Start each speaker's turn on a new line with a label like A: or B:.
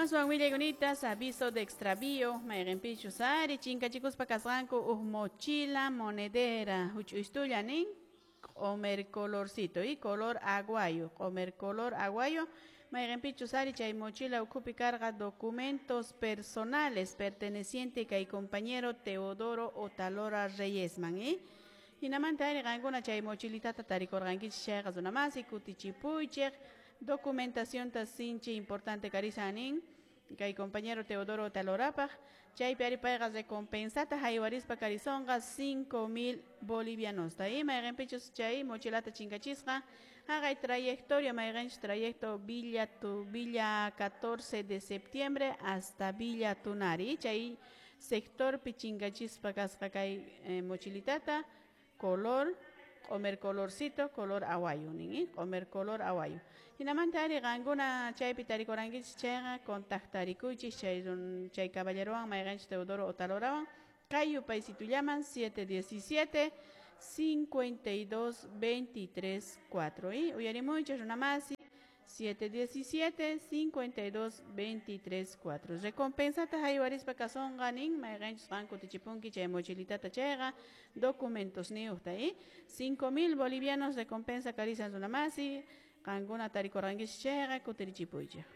A: Aswan willaykunitas, aviso de extravío, mayqinpichus ari chinkachikuspa kasqanku huk mochila monedera huch'uystulla nin q'umer colorcito y color aguayo, q'umer color aguayo, mayqinpichus ari chay mochila ukhupi karqa documentos personales perteneciente kay compañero Teodoro Otalora Reyesman, ¿eh? Hinamanta ari qankuna chay mochilitata tarikurqankichik chayqa runamasi kutichipuychik documentacionta sinchi importante karisan nin kay compañero Teodoro Otalorapaq chaypi ari payqa recompensata haywarispa karisonqa 5000 bolivianosta y mayqinpichus chay mochilata chinkachisqa haqay trayectoria mayqinchus trayecto Villa tu Villa 14 de septiembre hasta Villa Tunari chay sectorpi chinkachispa kasqa kay mochilitata color q'umer colorcito color awayo nin q'umer color awayo hinamanta ari qankuna chaypi tarikurankichik chayqa contactarikuychik chay chay caballerowan mayqinchus Teodoro Otalorawan kay yupaysitullaman 717 52 23 4 y uyarimuychik runamasi 717 52 23 4 recompensata haywarispa kasonqa nin mayqinchus qan kutichipunki chay mochilitata chayqa documentos niyuqta y 5000 bolivianos recompensa karisan runamasi qankuna tarikurqankichik chayqa kutirichipuychik.